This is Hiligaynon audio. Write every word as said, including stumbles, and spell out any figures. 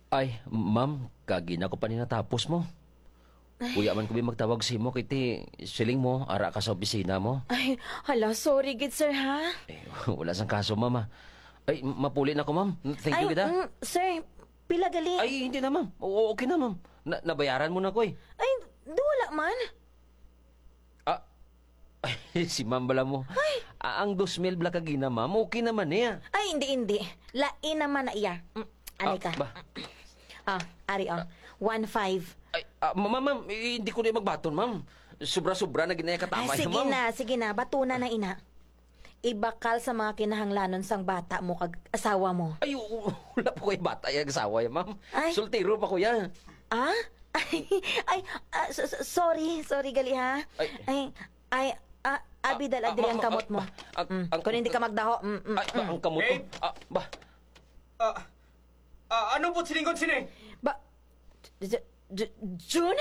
Ay, ma'am, kagina ko pa ni natapos mo. Kuya man ko bi magtawag sa imo, kay ti siling mo, ara ka sa opisina mo. Ay, hala, sorry gid, sir, ha? Eh, wala sang kaso, ma'am, ah. Ay, mapuli na ko, ma'am. Thank you, Ay, gid, ah. mm, sir, pila gali? Ay, hindi na, ma'am. Oo, okay na, ma'am. Na, nabayaran mo na ko, eh. Ay, di wala man. Ah, si ma'am bala mo. Ay. Ah, ang dos mil bala kagina, ma'am. Okay naman niya. Ay, hindi, hindi. Lain naman na iya. Mm, anay Ah, ka. ba? Ah, ari, oh. One five. Ay, ah, ma-, ma'am, ma'am, eh, hindi ko na magbaton, ma'am. Sobra-sobra na ginaya Ay, katamay, sige ma'am. na, sige na. Batuna na ina. Ibakal sa mga kinahanglanon sang bata mo kag asawa mo. Ay, u-, u-, wala pa ko yung bata, yung asawa, ya, ma'am. Ay. Soltero pa ko, ya. Ah? Ay, ay, ah, so-, so-, sorry, sorry gali, ha? Ay. Ay, ay, ah, abi, Ah, dal-a ah, diri ang ma-, ma-, kamot mo. ah, ah, Mm, ang kung hindi ka magdaho, mm, mm, Ay, ba, mm. ang kamot ko. Babe! Ah, ba? Ah, ah, ano po silingon sini? Ba, J-, J-, June?